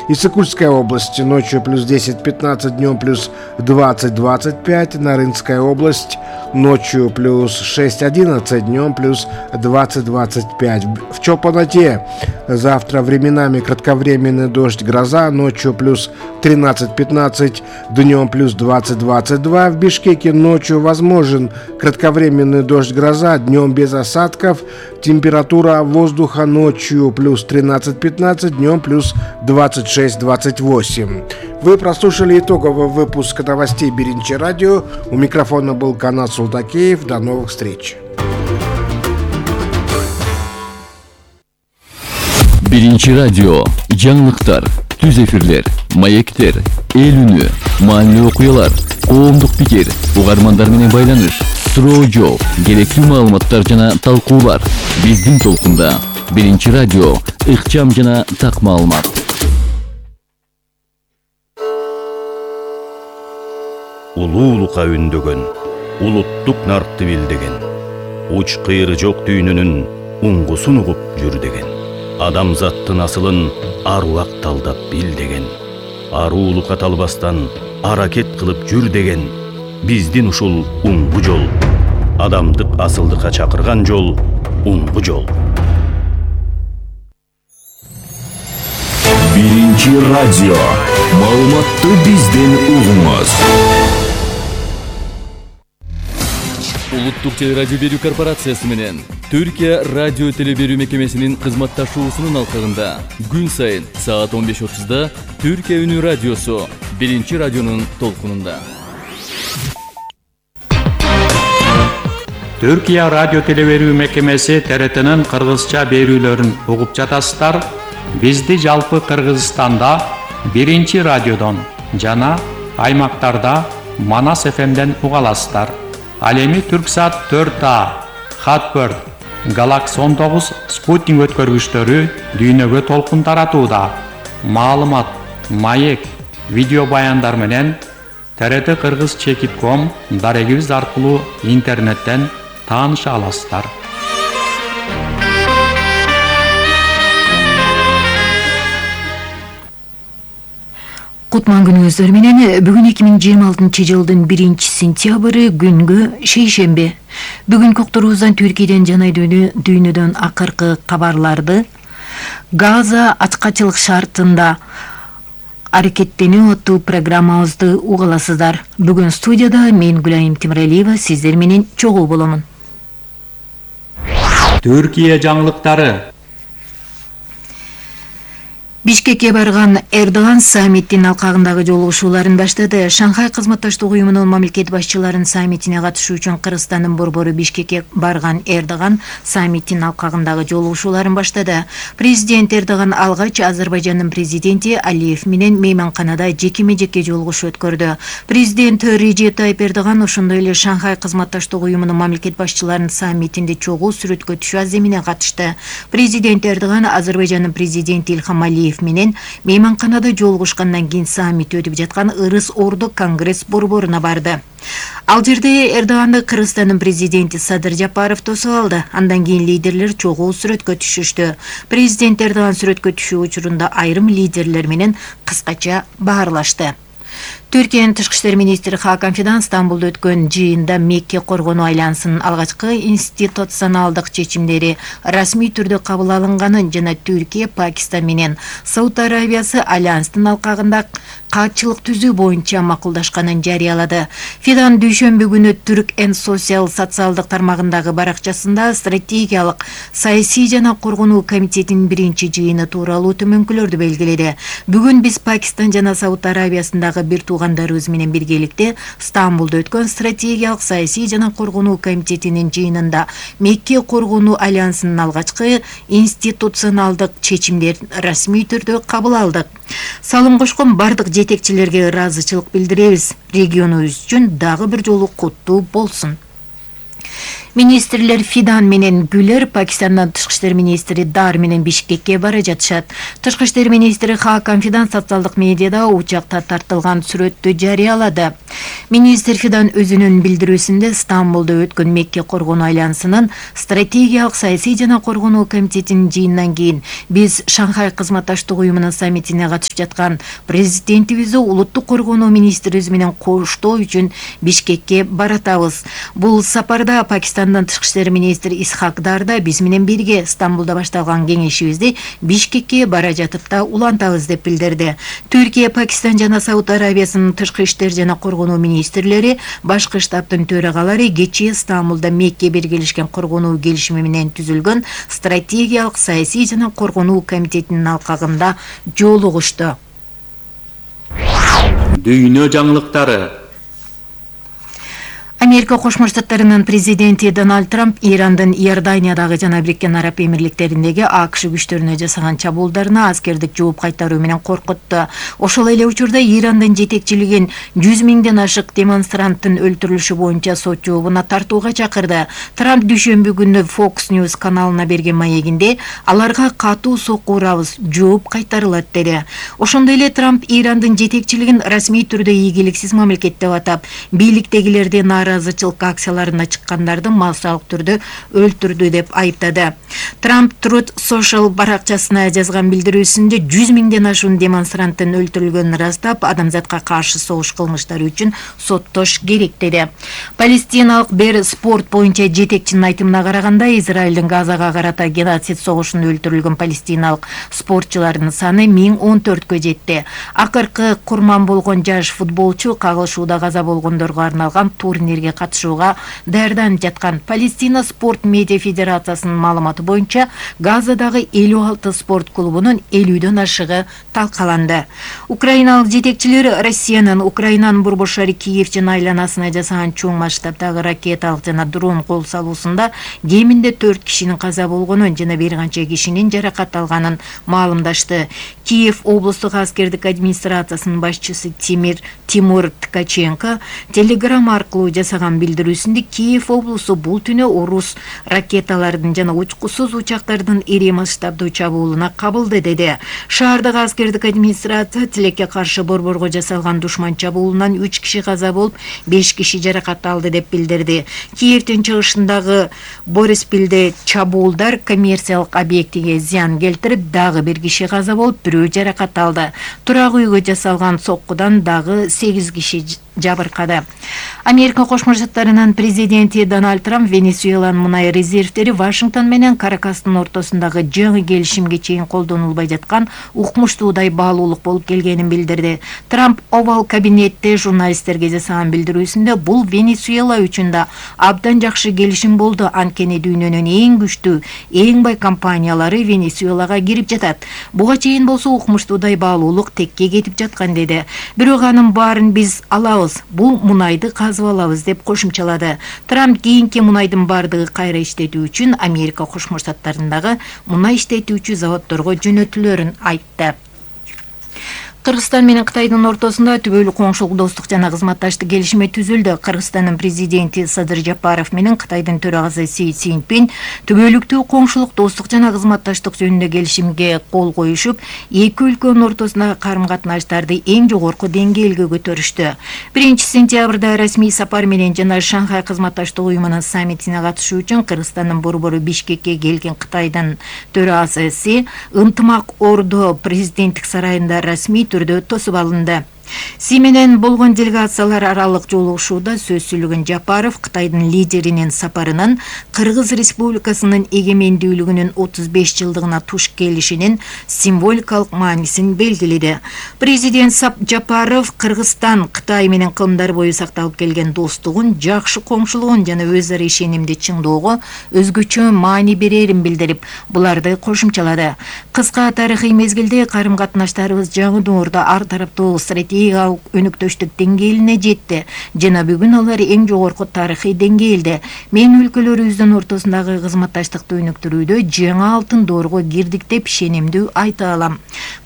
Иссык-Кульская область ночью плюс 10-15, днем плюс 20-25. Нарынская область ночью плюс 6-11, днем плюс 20-25. В Чолпоноте завтра временами кратковременный дождь, гроза, ночью плюс 13-15, днем плюс 20-22. В Бишкеке ночью возможен кратковременный дождь, гроза, днем без осадков. Температура воздуха ночью плюс 13-15, днем плюс 26-28. Вы прослушали итоговый выпуск новостей Биринчи радио. У микрофона был Канат Султакеев. До новых встреч. Биринчи радио. Жаңылыктар, түз эфирлер, маектер, эл үнү, маанилүү окуялар, коомдук пикир, угармандар менен байланыш, суроо жооп, керектүү маалыматтар жана талкуулар. Биздин толкунда. Биринчи радио. Ыкчам жана так маалымат. Улуулукка үндөгөн, улуттук наркты билдеген, уч кыйры жок дүйнөнүн уңгусун угуп жүр деген. Адамзаттын асылын аруак талдап бил деген. Аруулукка талбастан аракет кылып жүр деген. Биздин ушул уңгу жол. Адамдык асылдыкка чакырган жол уңгу жол. Биринчи радио. Маалыматты бизден угуңуз. Улуттук телерадио берүү корпорациясы менен Түркия радио телеберүү мекемесинин кызматташуусунун алкагында күн сайын саат 15:30 Түркия үнү радиосу Биринчи радионун толкунунда. Түркия радио телеберүү мекемеси ТРТнын кыргызча берүүлөрүн угуп жатасыздар. Бизди жалпы Кыргызстанда Биринчи радиодон жана аймактарда Манас ФМден уга аласыздар. Ал эми Түрксат 4А, Хатбird, Galaxy 19 спутник өткөргүчтөрү дүйнөгө толкун таратууда. Маалымат, маек, видео баяндар менен TRT Кыргыз.com дарегибиз аркылуу интернеттен тааныша аласыздар. Кутман күнүңүздөр менен бүгүн 2026 жылдын 1-сентябры күнгө шейшемби. Бүгүн kokturubuzdan Түркияден жана дүйнөдөн акыркы кабарларды Газа ачкачылык шартында аракеттенүү аттуу программабызды угаласыздар. Бүгүн студияда мен Гүлайым Темиралиева сиздер менен чогуу боломун. Түркия жаңылыктары. Бишкекке барган Эрдоган саммиттин алкагындагы жолугушууларын баштады. Шанхай кызматташтык уюмунун мамлекет башчыларынын саммитине катышуу үчүн Кыргызстандын борбору Бишкекке барган Эрдоган саммиттин алкагындагы жолугушууларын баштады. Президент Эрдоган алгач Азербайжандын президенти Алиев менен мейманканада жекеме-жеке жолугушуу өткөрдү. Президент Режеп Тайип Эрдоган ошондой эле Шанхай кызматташтык уюмунун мамлекет башчыларынын саммитинде чогуу сүрөткө түшүү аземине катышты. Президент Эрдоган Азербайжандын президенти Илхам Алиев менен мейманканада жолугушкандан кийин саммит өтүп жаткан Ырыс Орду Конгресс борборуна барды. Ал жерде Эрдоганды Кыргызстандын президенти Садыр Жапаров тосуп алды. Андан кийин лидерлер чогуу сүрөткө түшүштү. Президент Эрдоган сүрөткө түшүү учурунда айрым лидерлер менен кыскача баарлашты. Түркиянын тышкы иштер министри Хакан Фидан Стамбулда өткөн жыйында Мекке коргонуу айлансынын алгачкы институционалдык чечимдери расмий түрдө кабыл алынганын жана Түркия, Пакистан менен Сауд Арабиясы альянстын алкагында катчылык түзүү боюнча макулдашканын жарыялады. Фидан дүйшөмбү күнү Түрк энд социалдык тармагындагы баракчасында стратегиялык саясий жана коргонуу комитетинин биринчи жыйыны тууралуу төмөнкүлөрдү белгиледи. Бүгүн биз Пакистан жана Сауд Арабиясындагы бир туугандарыбыз менен биргеликте Стамбулда өткөн стратегиялык саясий жана коргонуу комитетинин жыйынында Мекке коргонуу альянсынын алгачкы институционалдык чечимдерин расмий түрдө кабыл алдык. Салым кошкон бардык жетекчилерге ыраазычылык билдиребиз. Регионубуз үчүн дагы бир жолу куттуу болсун. Министрлер Фидан менен Гүлер Пакистандан тышкы иштер министри Дар менен Бишкекке бара жатышат. Тышкы иштер министри Хакам Фидан социалдык медиада учакта тартылган сүрөттү жарыялады. Министр Фидан өзүнүн билдирүүсүндө Стамбулда өткөн Мекке коргонуу айлансынын стратегиялык саясий жана коргонуу комитетинин жыйынынан кийин биз Шанхай кызматташтык уюмунун саммитине катышып жаткан президентибизди улуттук коргонуу министрибиз менен коштоо үчүн Бишкекке баратабыз. Бул сапарда Пакистандан тышкы иштер министри Исхак Дар да биз менен бирге Стамбулда башталган кеңешибизди Бишкекке бара жатып да улантабыз деп билдирди. Түркия, Пакистан жана Сауд Арабиясынын тышкы иштер жана коргонуу министрлери башкы штабтын төрагалары кечээ Стамбулда Мекке биргелешкен коргонуу келишими менен түзүлгөн стратегиялык саясий жана коргонуу комитетинин алкагында жолугушту. Дүйнө жаңылыктары. Америка Кошмо Штаттарынын президенти Дональд Трамп Ирандын Иорданиядагы жана Бириккен Араб Эмирликтериндеги АКШ күчтөрүнө жасаган чабуулдарына аскердик жооп кайтаруу менен коркутту. Ошол эле учурда Ирандын жетекчилигин 100 миңден ашык демонстранттын өлтүрүлүшү боюнча сот жообуна тартууга чакырды. Трамп дүйшөмбү күнү Fox News каналына берген маегинде аларга катуу сокку урабыз, жооп кайтарылат деди. Ошондой эле Трамп Ирандын жетекчилигин расмий түрдө ийгиликсиз мамлекет деп атап, бийликтегилерди наразычылык акцияларына чыккандарды массалык түрдө өлтүрдү деп айыптады. Трамп Truth Social баракчасына жазган билдирүүсүндө 100 миңден ашуун демонстранттын өлтүрүлгөнүн ырастап, адамзатка каршы согуш кылмыштары үчүн соттош керек деди. Палестиналык Бер спорт боюнча жетекчинин айтымына караганда, Израилдин Газага карата геноцид согушунда өлтүрүлгөн палестиналык спортчулардын саны 1014кө жетти. Акыркы курман болгон жаш футболчу кагылышууда каза болгондорго арналган турнирге катышууга даярданып жаткан. Палестина спорт медиа федерациясынын маалыматы боюнча Газадагы 56 спорт клубунун 50дөн ашыгы талкаланды. Украиналык жетекчилер Россиянын Украинанын борбор шаары Киев жана айланасына жасаган чоң масштабдагы ракеталык жана дрон кол салуусунда кеминде 4 кишинин каза болгонун жана бир канча кишинин жаракат алганын маалымдашты. Киев облустук аскердик администрациясынын башчысы Тимур Ткаченко Telegram аркылуу жасаган билдирүүсүндө Киев облусу бул түнү орус ракеталардын жана учкусуз учактардын ири масштабдуу чабуулуна кабылды деди. Шаардагы аскердик администрация тилекке каршы борборго жасалган душман чабуулунан 3 киши каза болуп, 5 киши жаракат алды деп билдирди. Киевдин чыгышындагы Бориспилде чабуулдар коммерциялык объектиге зыян келтирип, дагы бир киши каза болуп, бирөө жаракат алды. Турак үйгө жасалган соккудан дагы 8 киши жабыркады. Америка Кошмо Штаттарынын президенти Дональд Трамп Венесуэланын мунай резервдери Вашингтон менен Каракастын ортосундагы жаңы келишимге чейин колдонулбай жаткан укмуштуудай баалуулук болуп келгенин билдирди. Трамп Овал кабинетте журналисттерге жасаган билдирүүсүндө бул Венесуэла үчүн да абдан жакшы келишим болду. Анткени дүйнөнүн эң күчтүү, эң бай компаниялары Венесуэлага кирип жатат. Буга чейин болсо укмуштуудай баалуулук текке кетип жаткан деди. Бирок анын баарын биз алабыз, бул мунайды казып алабыз деп кошумчалады. Трамп кийинки мунайдын бардыгы кайра иштетүү үчүн Америка Кошмо Штаттарындагы мунай иштетүүчү заводдорго жөнөтүлөрүн айтты. Кыргызстан менен Кытайдын ортосунда түбөлүк коңшулук достук жана кызматташтык келишими түзүлдү. Кыргызстандын президенти Садыр Жапаров менен Кытайдын төрагасы Си Цзиньпин түбөлүктүү коңшулук достук жана кызматташтык жөнүндө келишимге кол коюшуп, эки өлкөнүн ортосундагы карым-катнаштарды эң жогорку деңгээлге көтөрүштү. 1-сентябрда расмий сапар менен жана Шанхай кызматташтык уюмунун саммитине катышуу үчүн Кыргызстандын борбору Бишкекке келген Кытайдын төрагасы Си ынтымак ордо президенттик сарайында расмий түрдө тосуп алынды. Си менен болгон делегациялар аралык жолугушууда сөз сүйлөгөн Жапаров Кытайдын лидеринин сапарынын Кыргыз Республикасынын эгемендүүлүгүнүн 35 жылдыгына туш келишинин символикалык маанисин белгиледи. Президент Жапаров Кыргызстан Кытай менен кылымдар бою сакталып келген достугун, жакшы коңшулугун жана өз ара ишенимди чыңдоого өзгөчө маани берерин билдирип, буларды кошумчалады. Кыска тарыхый мезгилде карым-катнаштарыбыз жаңы доордо ар тараптуу стратегиялык стратегиялык өнүктүштүк деңгээлине жетти жана бүгүн алар эң жогорку тарыхый деңгээлде. Мен өлкөлөрүбүздүн ортосундагы кызматташтыкты өнүктүрүүдө жаңы алтын доорго кирдик деп ишенимдүү айта алам.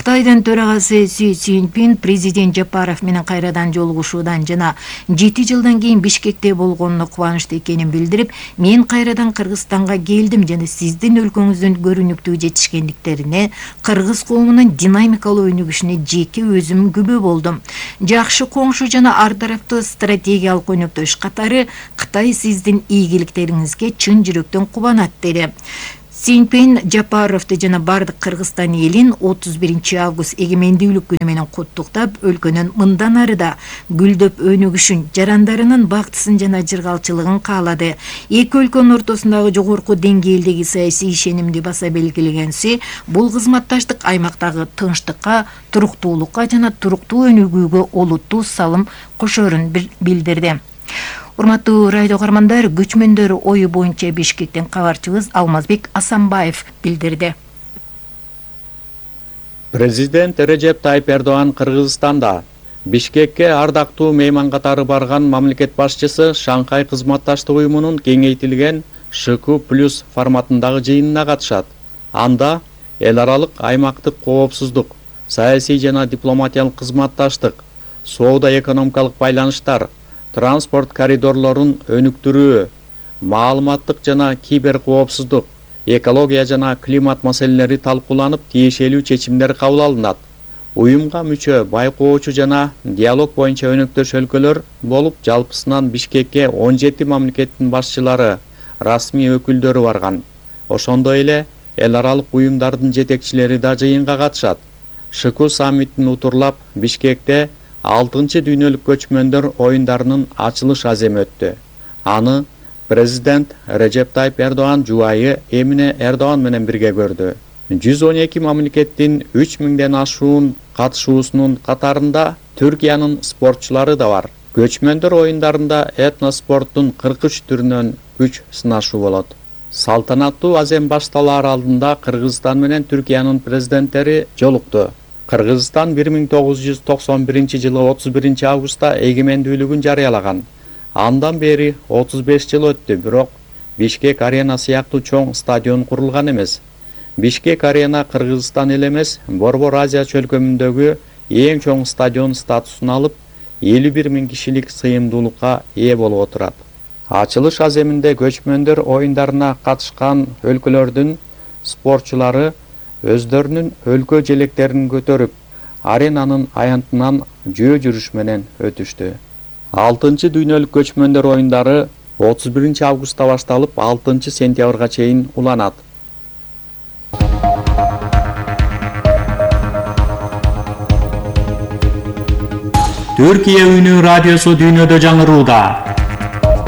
Кытайдын төрагасы Си Цзиньпин президент Жапаров менен кайрадан жолугушуудан жана 7 жылдан кийин Бишкекте болгонуна кубанычты экенин билдирип, мен кайрадан Кыргызстанга келдим жана сиздин өлкөңүздүн көрүнүктүү жетишкендиктерине, кыргыз коомунун динамикалуу өнүгүшүнө жеке өзүм күбө болдум. Жакшы коңшу жана ар тараптуу стратегиялык өнүктүш катары Кытай сиздин ийгиликтериңизге чын жүрөктөн кубанат деди. Цзиньпин Жапаровду жана бардык Кыргызстан элин 31 август эгемендүүлүк күнү менен куттуктап, өлкөнүн мындан ары да гүлдөп өнүгүшүн, жарандарынын бактысын жана жыргалчылыгын каалады. Эки өлкөнүн ортосундагы жогорку деңгээлдеги саясий ишенимди баса белгилеген Си, бул кызматташтык аймактагы тынчтыкка, туруктуулукка жана туруктуу өнүгүүгө олуттуу салым кошорун билдирди. Урматтуу радио каармандар, көчмөндөр ою боюнча Бишкектен кабарчыбыз Алмазбек Асанбаев билдирди. Президент Режеп Тайып Эрдоган Кыргызстанда. Бишкекке ардактуу мейман катары барган мамлекет башчысы Шанхай кызматташтык уюмунун кеңейтилген ШК+ форматындагы жыйынына катышат. Анда эл аралык аймактык коопсуздук, саясий жана дипломатиялык кызматташтык, соода-экономикалык байланыштар, транспорт коридорлорун өнүктүрүү, маалыматтык жана кибер коопсуздук, экология жана климат маселелери талкууланып, тиешелүү чечимдер кабыл алынат. Уюмга мүчө байкоочу жана диалог боюнча өнөктөш өлкөлөр болуп, жалпысынан Бишкекке 17 мамлекеттин башчылары, расмий өкүлдөрү барган. Ошондой эле эл аралык уюмдардын жетекчилери да жыйынга катышат. ШК саммитин утурлап, Бишкекте 6-чы дүйнөлүк көчмөндөр оюндарынын ачылыш аземи өттү. Аны президент Режеп Тайып Эрдоган жубайы Эмине Эрдоган менен бирге көрдү. 112 мамлекеттин 3000ден ашуун катышуусунун катарында Түркиянын спортчулары да бар. Көчмөндөр оюндарында этноспорттун 43 түрүнөн күч сынашуу болот. Салтанаттуу азем башталаар алдында Кыргызстан менен Түркиянын президенттери жолукту. Кыргызстан 1991 жылы 31 августта эгемендүүлүгүн жарыялаган. Андан бери 35 жыл өттү, бирок Бишкек арена сыяктуу чоң стадион курулган эмес. Бишкек арена Кыргызстан эле эмес, Борбор Азия чөлкөмүндөгү эң чоң стадион статусун алып, 51 000 кишилик сыйымдуулукка ээ болуп отурат. Ачылыш аземинде көчмөндөр оюндарына катышкан өлкөлөрдүн спортчулары өздөрүнүн өлкө желектерин көтөрүп, аренанын аянтынан жөө жүрүш менен өтүштү. 6-чы дүйнөлүк көчмөндөр оюндары 31 августта башталып, 6 сентябрга чейин уланат. Түркия үнү радиосу дүйнөдө жаңырууда.